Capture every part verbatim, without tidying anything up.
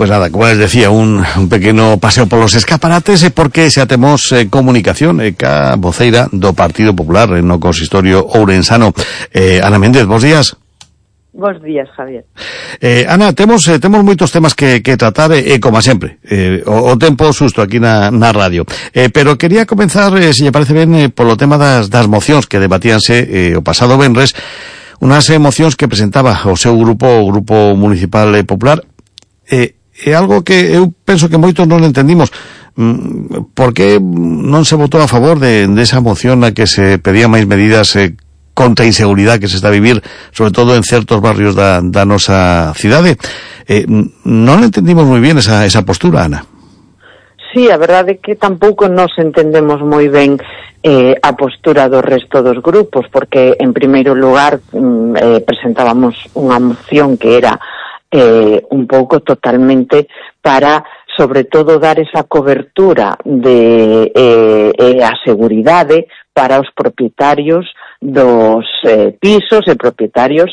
Pues nada, como les decía, un, un pequeno paseo polos escaparates e porque xa temos eh, comunicación eh, ca voceira do Partido Popular eh, no consistorio ourensano. Eh, Ana Méndez, bons días. Bos días, Javier. Eh, Ana, temos eh, temos moitos temas que, que tratar e, eh, como sempre, eh, o, o tempo susto aquí na, na radio. Eh, pero quería comenzar, eh, se lle parece ben, eh, polo tema das, das mocións que debatíanse eh, o pasado venres, unhas eh, mocións que presentaba o seu grupo, o Grupo Municipal eh, Popular. Eh, é algo que eu penso que moitos non entendimos. Mm, por que non se votou a favor de, de esa moción na que se pedía máis medidas eh, contra a inseguridade que se está a vivir, sobre todo en certos barrios da, da nosa cidade? Eh, non entendimos moi bien esa, esa postura, Ana. Sí, a verdade é que tampouco nos entendemos moi ben eh, a postura do resto dos grupos, porque en primeiro lugar mm, eh, presentábamos unha moción que era eh, un pouco totalmente para, sobre todo, dar esa cobertura de eh, eh, a seguridade para os propietarios dos eh, pisos e propietarios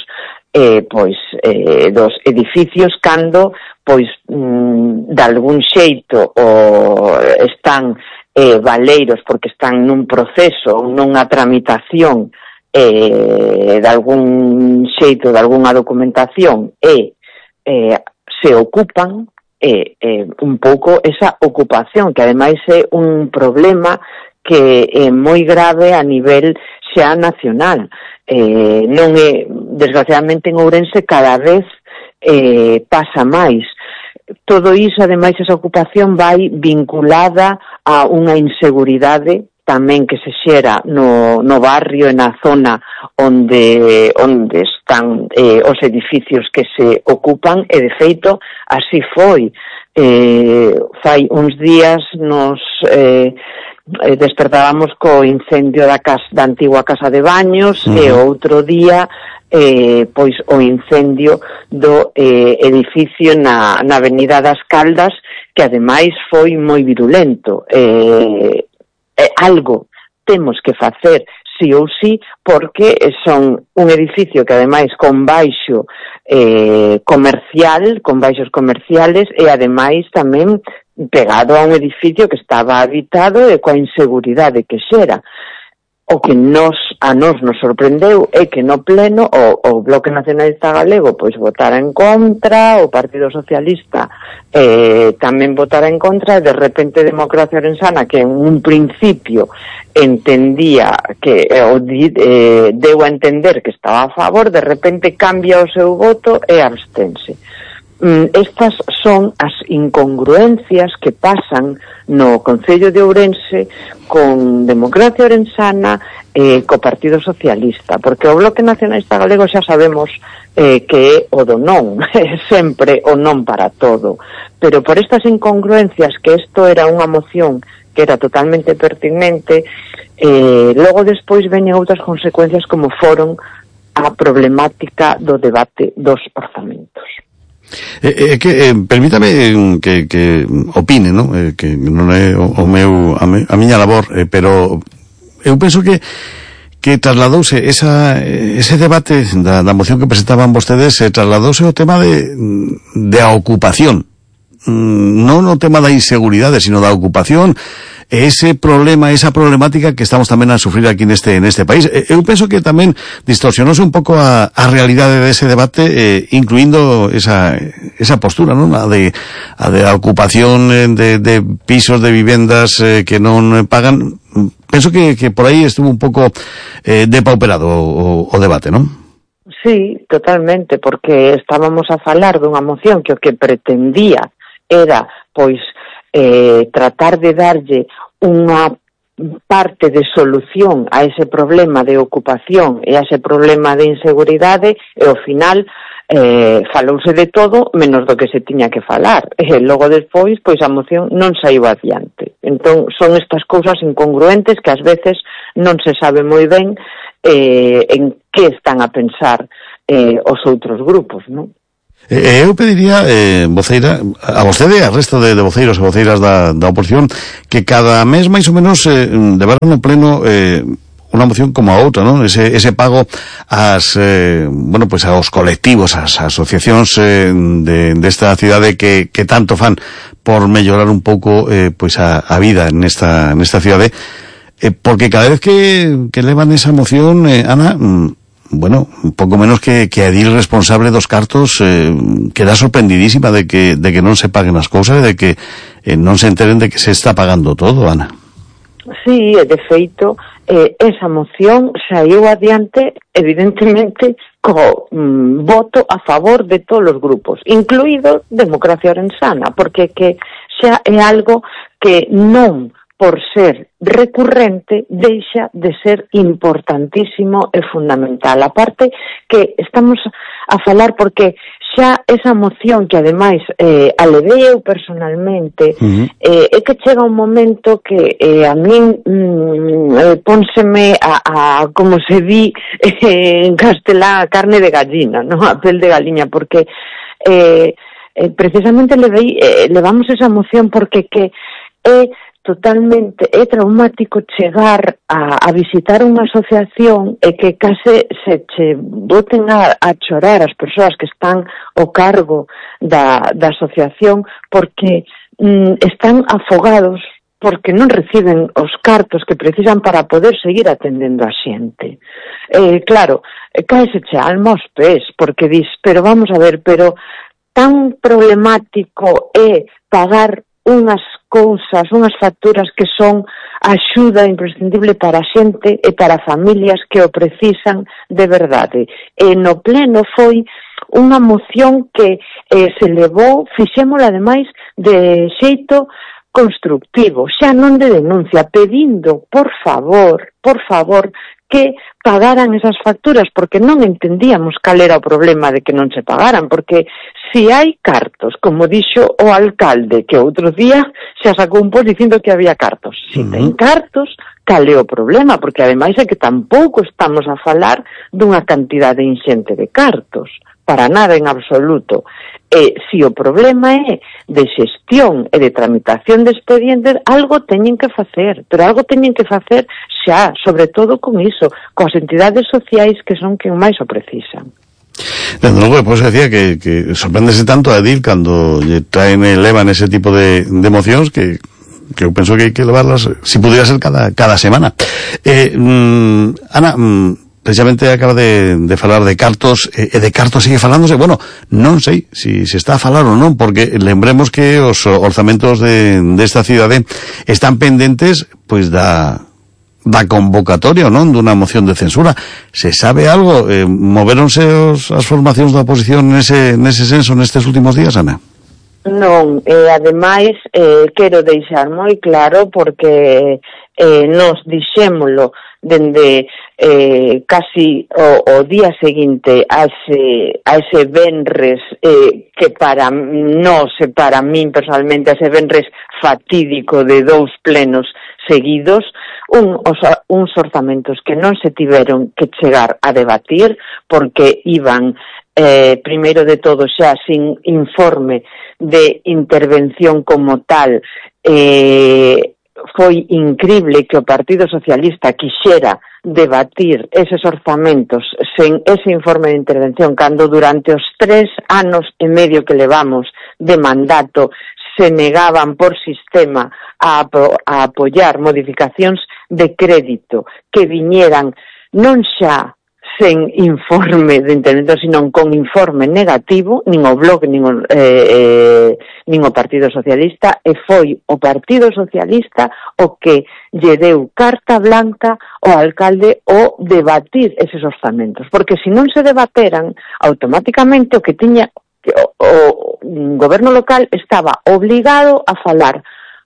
eh, pois eh, dos edificios cando pois mm, de algún xeito o están eh, valeiros porque están nun proceso ou nunha tramitación eh, de algún xeito, de algunha documentación e eh, se ocupan eh, eh, un pouco esa ocupación, que ademais é un problema que é moi grave a nivel xa nacional. Eh, non é, desgraciadamente en Ourense cada vez eh, pasa máis. Todo iso, ademais, esa ocupación vai vinculada a unha inseguridade tamén que se xera no, no barrio e na zona onde, onde están eh, os edificios que se ocupan, e de feito así foi. Eh, fai uns días nos eh, despertábamos co incendio da, casa, da antigua casa de baños, uh-huh. E outro día eh, pois o incendio do eh, edificio na, na Avenida das Caldas, que ademais foi moi virulento. Eh, eh, algo temos que facer sí ou sí, porque son un edificio que ademais con baixo eh, comercial, con baixos comerciales, e ademais tamén pegado a un edificio que estaba habitado e coa inseguridade que xera. O que nos, a nos nos sorprendeu é que no pleno o, o Bloque Nacionalista Galego pois votara en contra, o Partido Socialista eh, tamén votara en contra, e de repente Democracia Orensana, que en un principio entendía que eh, eh, deu a entender que estaba a favor, de repente cambia o seu voto e abstense. Estas son as incongruencias que pasan no Concello de Ourense con Democracia Orensana e eh, co Partido Socialista, porque o Bloque Nacionalista Galego xa sabemos eh, que é o do non, sempre o non para todo, pero por estas incongruencias, que isto era unha moción que era totalmente pertinente, eh, logo despois veñen outras consecuencias como foron a problemática do debate dos orzamentos. Eh, eh, que, eh, permítame que, que opine, ¿no? Eh, que non é o, o meu, a, me, a miña labor, eh, pero eu penso que que trasladouse esa, ese debate da, da moción que presentaban vostedes, eh, trasladouse o tema de, de a ocupación, non o tema da inseguridade, sino da ocupación, ese problema, esa problemática que estamos tamén a sufrir aquí neste neste país. Eu penso que tamén distorsionose un pouco a, a realidade dese debate, eh, incluindo esa esa postura, non? A de a de a ocupación de, de pisos, de vivendas eh, que non pagan. Penso que, que por aí estuvo un pouco eh, depauperado o, o debate, non? Sí, totalmente, porque estábamos a falar dunha moción que o que pretendía era, pois, eh, tratar de darlle unha parte de solución a ese problema de ocupación e a ese problema de inseguridade, e ao final eh, falouse de todo menos do que se tiña que falar, e logo despois pois a moción non saiu adiante. Entón son estas cousas incongruentes que ás veces non se sabe moi ben eh, en que están a pensar eh, os outros grupos, non? Eh, eu pediría, eh, voceira, a vostede e a resto de, de voceiros e voceiras da, da oposición, que cada mes máis ou menos eh, levaran no pleno eh, unha moción como a outra, non? Ese, ese pago ás, eh, bueno, pues aos colectivos, ás asociacións eh, de, desta cidade que, que tanto fan por mellorar un pouco, eh, pues a, a vida nesta, nesta cidade, eh, porque cada vez que, que levan esa moción, eh, Ana, mm, bueno, un pouco menos que, que a edil responsable dos cartos, eh, queda sorprendidísima de que, de que non se paguen as cousas e de que eh, non se enteren de que se está pagando todo, Ana. Sí, de feito, eh, esa moción saiu adiante, evidentemente, co mm, voto a favor de todos os grupos, incluído Democracia Orensana, porque que xa é algo que non, por ser recurrente, deixa de ser importantísimo e fundamental. A parte que estamos a falar porque xa esa moción que ademais eh, alevei eu personalmente, uh-huh. eh, é que chega un momento que eh, a min mm, eh, pónseme a, a, como se di eh, en castelán, a carne de gallina, no? A pel de galiña, porque eh, eh, precisamente levei, eh, levamos esa moción porque que é totalmente, é traumático chegar a, a visitar unha asociación e que case se che boten a, a chorar as persoas que están ao cargo da, da asociación porque mm, están afogados porque non reciben os cartos que precisan para poder seguir atendendo a xente. Eh, claro, caese che alma aos pés porque dis, pero vamos a ver, pero tan problemático é pagar unhas cousas, unhas facturas que son axuda imprescindible para a xente e para familias que o precisan de verdade. E no pleno foi unha moción que eh, se levou, fixémola ademais de xeito constructivo, xa non de denuncia, pedindo, por favor, por favor, que pagaran esas facturas, porque non entendíamos cal era o problema de que non se pagaran, porque si hai cartos, como dixo o alcalde, que outro día xa sacou un post dicindo que había cartos. Si uh-huh. ten cartos, cal é o problema? Porque ademais é que tampouco estamos a falar dunha cantidade inxente de cartos, para nada en absoluto. E se o problema é de xestión e de tramitación de expedientes, algo teñen que facer, pero algo teñen que facer xa, sobre todo con iso, coas entidades sociais que son quen máis o precisan. Desde logo, pois decía que, que sorpréndese tanto a Edil cando lle traen e levan ese tipo de, de mocións que que eu penso que hai que levarlas, si pudiera ser cada, cada semana. Eh, mm, Ana, mm, precisamente acaba de, de falar de cartos, e de cartos sigue falándose, bueno, non sei se si se está a falar ou non, porque lembremos que os orzamentos de, de esta cidade están pendentes, pois da da convocatoria, non? Dunha moción de censura. Se sabe algo? Eh, moveronse os, as formacións da oposición nese, nese senso nestes últimos días, Ana? Non, e ademais eh, quero deixar moi claro porque eh, nos dixémolo dende eh, casi o, o día seguinte a ese, a ese venres eh, que para nós e para min personalmente a ese venres fatídico de dous plenos seguidos, un, os, uns orzamentos que non se tiveron que chegar a debatir porque iban eh, primeiro de todo xa sin informe de intervención como tal. Eh, foi incrible que o Partido Socialista quixera debatir eses orzamentos sen ese informe de intervención cando durante os tres anos e medio que levamos de mandato se negaban por sistema a, a apoiar modificacións de crédito que viñeran non xa sen informe de intervención, sino con informe negativo, nin o Bloque, nin o, eh, eh, nin o Partido Socialista, e foi o Partido Socialista o que lle deu carta blanca ao alcalde o debatir eses orzamentos, porque se non se debateran, automáticamente o que tiña o, o goberno local estaba obligado a falar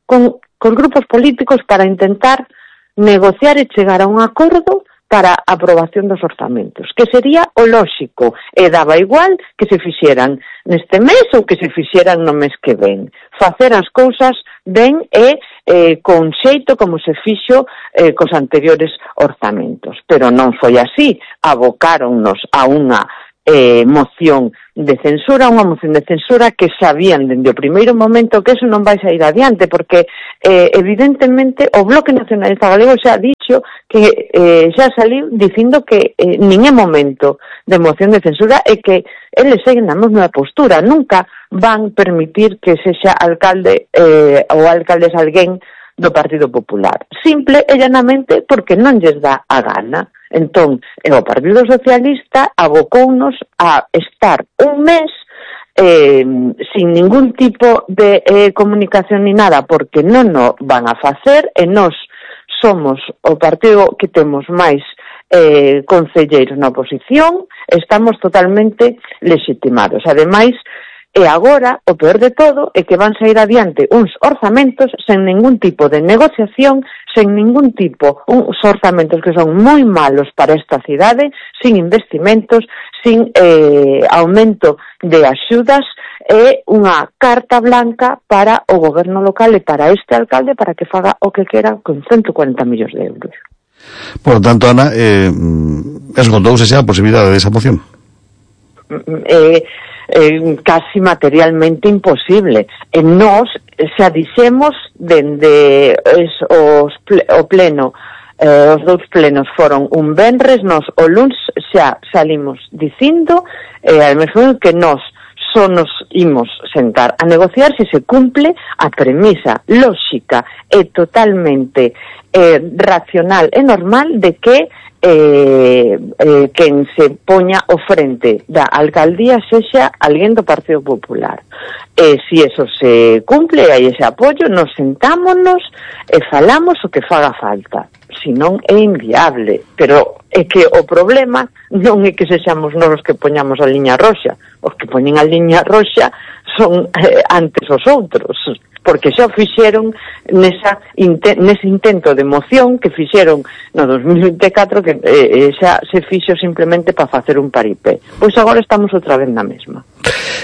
con, con grupos políticos para intentar negociar e chegar a un acordo para a aprobación dos orzamentos, que sería o lóxico, e daba igual que se fixeran neste mes ou que se fixeran no mes que ven. Facer as cousas ben e eh, con xeito como se fixo eh, cos anteriores orzamentos. Pero non foi así, abocáronnos a unha eh, moción de censura, unha moción de censura que sabían dende o primeiro momento que eso non vai sair adiante, porque eh, evidentemente o Bloque Nacionalista Galego xa ha dicho que eh, xa saliu dicindo que eh, nin é momento de moción de censura e que eles seguen na mesma postura, nunca van permitir que sexa alcalde eh, ou alcaldes alguén do Partido Popular, simple e llanamente porque non lles dá a gana. Entón, o Partido Socialista abocounos a estar un mes eh, sin ningún tipo de eh, comunicación ni nada, porque non o van a facer, e nós somos o partido que temos máis eh, concelleiros na oposición, estamos totalmente legitimados. Ademais, e agora, o peor de todo, é que van sair adiante uns orzamentos sen ningún tipo de negociación, sen ningún tipo, uns orzamentos que son moi malos para esta cidade, sin investimentos, sin eh, aumento de axudas, e unha carta blanca para o goberno local e para este alcalde para que faga o que quera con ciento cuarenta millóns de euros. Por lo tanto, Ana, eh, esgotouse xa a posibilidade desa moción? Eh... Eh, casi materialmente imposible. E nós xa dixemos dende es, os ple, o pleno, eh, os dous plenos foron un venres, nós o luns xa salimos dicindo eh, al mesmo que nós só nos imos sentar a negociar se se cumple a premisa lóxica e totalmente eh, racional e normal de que Eh, eh, quen se poña o frente da alcaldía sexa alguén do Partido Popular. E se eso se cumple, hai ese apoio, nos sentámonos e falamos o que faga falta. Si non é inviable, pero é que o problema non é que sexamos nós os que poñamos a liña roxa, os que poñen a liña roxa son eh, antes os outros, porque xa fixeron nesa inte, nese intento de moción que fixeron no dos mil vinte e catro, que eh, xa se fixo simplemente para facer un paripé. Pois agora estamos outra vez na mesma.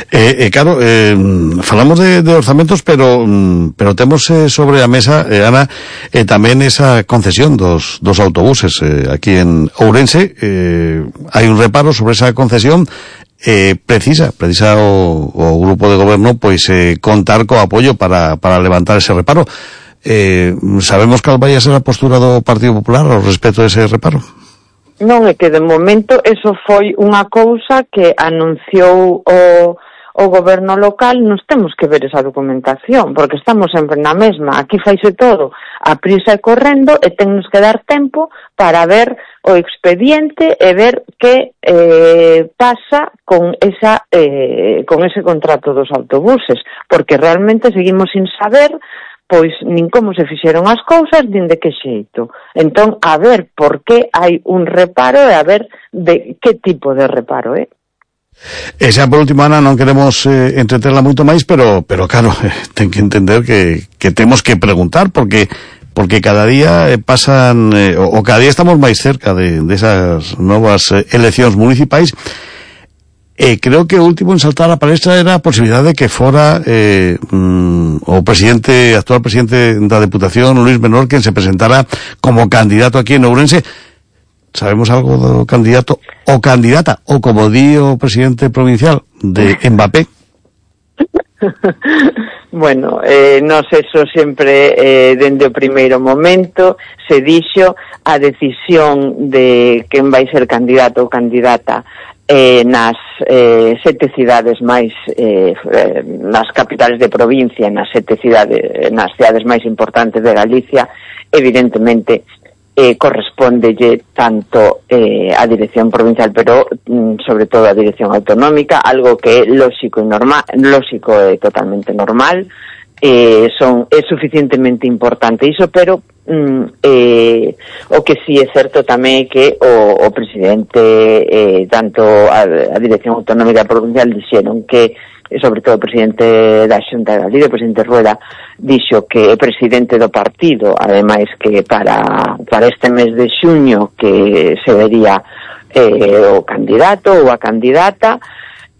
Eh, eh, claro, eh, falamos de, de orzamentos, pero pero temos eh, sobre a mesa, eh, Ana, eh, tamén esa concesión dos, dos autobuses eh, aquí en Ourense. Eh, hai un reparo sobre esa concesión. Eh, precisa, precisa o, o grupo de goberno pois eh, contar co apoio para, para levantar ese reparo. Eh, sabemos cal vai a ser a postura do Partido Popular ao respecto dese reparo? Non, é que de momento eso foi unha cousa que anunciou o, o goberno local. Nos temos que ver esa documentación, porque estamos sempre na mesma. Aquí faise todo a prisa e correndo, e tennos que dar tempo para ver o expediente e ver que eh, pasa con esa eh, con ese contrato dos autobuses, porque realmente seguimos sin saber pois nin como se fixeron as cousas, nin de que xeito. Entón, a ver por que hai un reparo e a ver de que tipo de reparo é. E xa por último, Ana, non queremos eh, entreterla moito máis, pero pero claro, eh, ten que entender que, que temos que preguntar, porque porque cada día eh, pasan, eh, o, o cada día estamos máis cerca de, de esas novas eh, eleccións municipais. E creo que o último en saltar a palestra era a posibilidade de que fora eh, mm, o presidente, actual presidente da Deputación, Luis Menor, quen se presentara como candidato aquí en Ourense. Sabemos algo do candidato o candidata, ou como di o presidente provincial, de Mbappé? Bueno, eh, nos eso sempre eh, dende o primeiro momento se dixo a decisión de quen vai ser candidato ou candidata eh, nas eh, sete cidades máis eh, nas capitales de provincia, nas sete cidades, nas cidades máis importantes de Galicia, evidentemente eh, correspondelle tanto eh, a dirección provincial, pero mm, sobre todo a dirección autonómica, algo que é lóxico e normal, lóxico e totalmente normal. Eh, son é suficientemente importante iso, pero mm, eh, o que sí é certo tamén é que o, o presidente, eh, tanto a, a dirección autonómica provincial dixeron que, sobre todo o presidente da Xunta de Galicia, o presidente Rueda, dixo que é presidente do partido, ademais que para, para este mes de xuño que se vería eh, o candidato ou a candidata.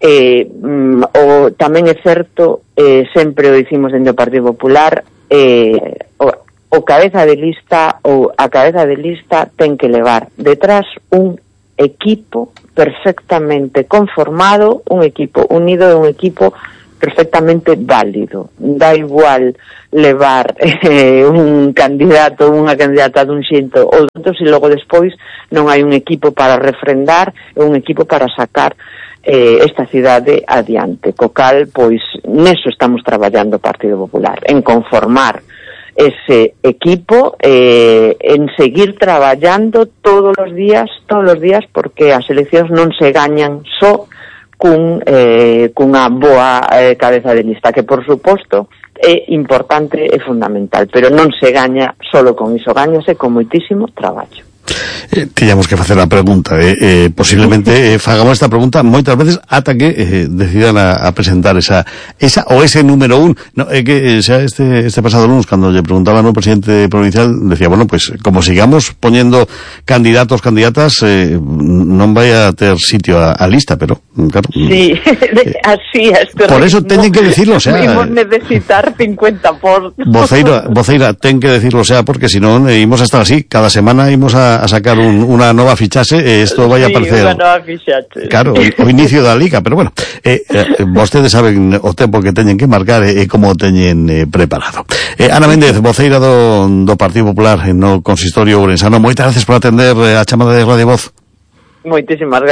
Eh, mm, o, tamén é certo, eh, sempre o dicimos dentro do Partido Popular, eh, o, o cabeza de lista ou a cabeza de lista ten que levar detrás un equipo perfectamente conformado, un equipo unido, un equipo perfectamente válido. Da igual levar eh, un candidato, unha candidata dun xeito ou outro, e logo despois non hai un equipo para refrendar e un equipo para sacar eh, esta cidade adiante. Co cal, pois, neso estamos traballando o Partido Popular, en conformar ese equipo, eh, en seguir traballando todos os días, todos os días, porque as eleccións non se gañan só cun, eh, cunha boa eh, cabeza de lista, que por suposto é importante e fundamental, pero non se gaña solo con iso, gañase con moitísimo traballo. Eh, tiñamos que facer a pregunta eh, eh, posiblemente eh, fagamos esta pregunta moitas veces ata que eh, decidan a, a presentar esa esa o ese número un no, eh, que xa este, este pasado lunes cando lle preguntaban ao presidente provincial decía, bueno, pues como sigamos poñendo candidatos, candidatas eh, non vai a ter sitio a, a lista, pero claro, sí, eh, así es, por eso teñen que decirlo, o sea, imos necesitar cincuenta por voceira, voceira ten que decirlo, o sea, porque si non eh, imos a estar así, cada semana imos a a sacar un, una nova fichaxe e isto vai a aparecer. Sí, unha nova fichaxe. Claro, o, o inicio da liga, pero bueno, eh, eh, vostedes saben o tempo que teñen que marcar e eh, como o teñen eh, preparado. Eh, Ana Méndez, voceira do, do Partido Popular no Consistorio Ourensano, moitas gracias por atender eh, a chamada de Radio Voz. Moitísimas gracias.